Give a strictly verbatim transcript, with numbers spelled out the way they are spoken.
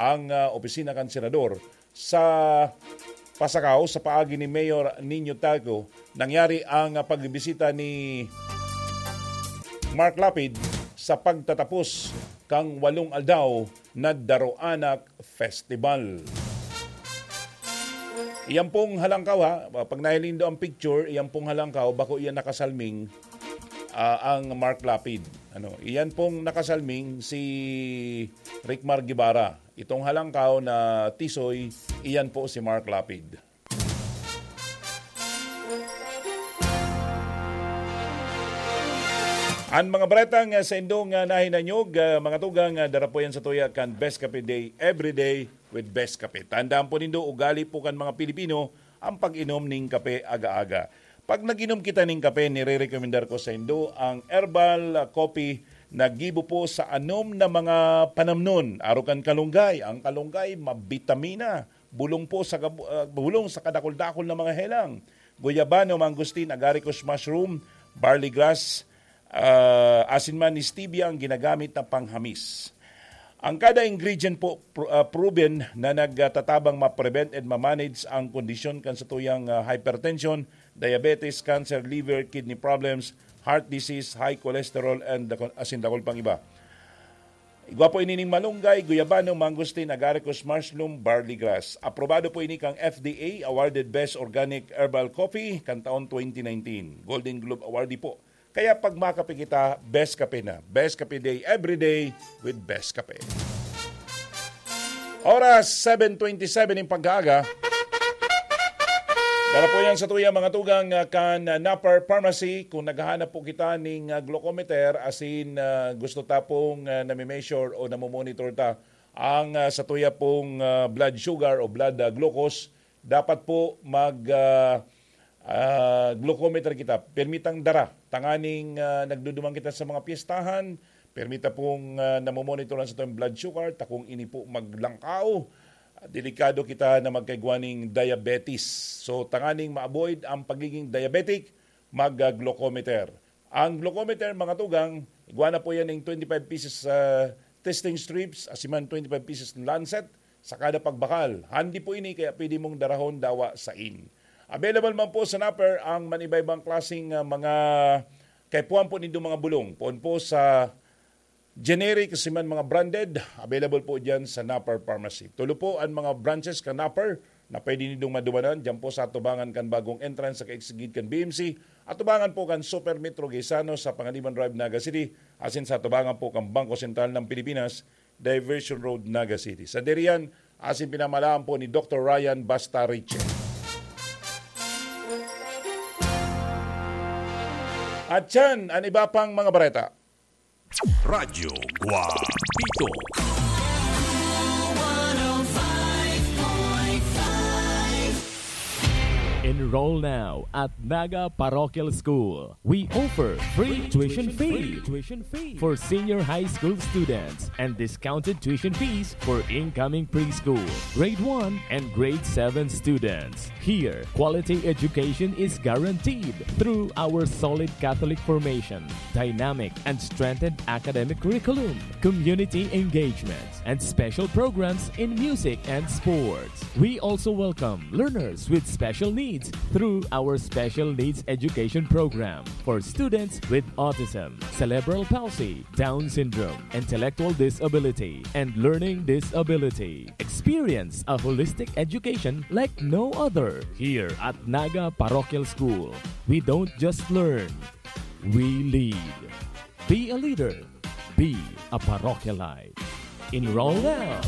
ang, ah, opisina kan senador sa Pasacao. Sa paagi ni Mayor Nino Talco, nangyari ang, ah, pagbisita ni Mark Lapid sa pagtatapos kan walong aldaw na Daroanak Festival. Iyan pong halangkaw, ha, pag nahiling do ang picture, iyan pong halangkaw, bako iyan nakasalming, ah, ang Mark Lapid. Ano, iyan pong nakasalming si Rickmar Guevara. Itong halangkaw na tisoy, iyan po si Mark Lapid. An mga baretang, ah, sa indong, ah, nahinanyog, ah, mga tugang, ah, dara po yan sa tuya kan Best Kape Day, every day with Best Kape. Tandaan po nindo, ugali po kan mga Pilipino ang pag-inom ning kape aga-aga. Pag nag-inom kita ning kape, nire-recommendar ko sa indo ang herbal, ah, coffee na gibo po sa anom na mga panamnon. Aro kan kalunggay. Ang kalunggay, mabitamina. Bulong po sa gab-, ah, bulong sa kadakul-dakul na mga helang. Guyabano, mangosteen, agaricus mushroom, barley grass, ah, asin man stevia ang ginagamit na panghamis. Ang kada ingredient po, pro-, ah, proven na nagtatabang ma-prevent and ma-manage ang kondisyon kan satuyang, ah, hypertension, diabetes, cancer, liver, kidney problems, heart disease, high cholesterol, and dakul-, asin dakul pang iba. Igwa po ini ning malunggay, guyabano, mangosteen, agaricus, mushroom, barley grass. Aprobado po ini kang F D A, awarded Best Organic Herbal Coffee kan taon twenty nineteen. Golden Globe awardee po. Kaya pag makape kita, Best Kape na. Best Kape Day, every day with Best Kape. Oras, seven twenty-seven in pagkaaga. Dara po yan sa tuya, mga tugang, ah, kan, ah, Napar Pharmacy. Kung naghahanap po kita ning, ah, glucometer, asin, ah, gusto ta pong, ah, nami-measure o namomonitor ta ang, ah, sa tuya pong, ah, blood sugar o blood, ah, glucose, dapat po mag, ah, ah, glucometer kita. Pirmi tang dara. Tanganing, ah, nagduduman kita sa mga piyestahan, pirmi ta pong, ah, namomonitoran sa atong blood sugar, ta kung ini po maglangkaw, delikado kita na magkaigwa ning diabetes. So, tanganing ma-avoid ang pagiging diabetic, mag, ah, glucometer. Ang glucometer, mga tugang, igwa na po yan ng twenty-five pieces, ah, testing strips, asin man twenty-five pieces lancet sa kada pagbakal. Handi po ini, kaya pwede mong darahon dawa sain. Available man po sa Napper ang manibaybang klaseng, ah, mga kaipuhan po nindo mga bulong. Poon po sa generic, asin man mga branded, available po dyan sa Napper Pharmacy. Tulo po ang mga branches kan Napper na pwede nindong madumanan dyan po sa atubangan kan bagong entrance sa kaigsigid kan B M C, atubangan po kan Super Metro Gaisano sa Panganiban Drive, Naga City, asin sa atubangan po kan Bangko Sentral ng Pilipinas, Diversion Road, Naga City. Sa diriyan, asin pinamalaan po ni Doktor Ryan Basta Richie. At yan ang iba pang mga bareta. Radyo Guapito. Enroll now at Naga Parochial School. We offer free tuition fee for senior high school students and discounted tuition fees for incoming preschool, grade one, and grade seven students. Here, quality education is guaranteed through our solid Catholic formation, dynamic and strengthened academic curriculum, community engagements, and special programs in music and sports. We also welcome learners with special needs through our special needs education program for students with autism, cerebral palsy, Down syndrome, intellectual disability, and learning disability. Experience a holistic education like no other. Here at Naga Parochial School, we don't just learn, we lead. Be a leader. Be a parochialite. Enroll now.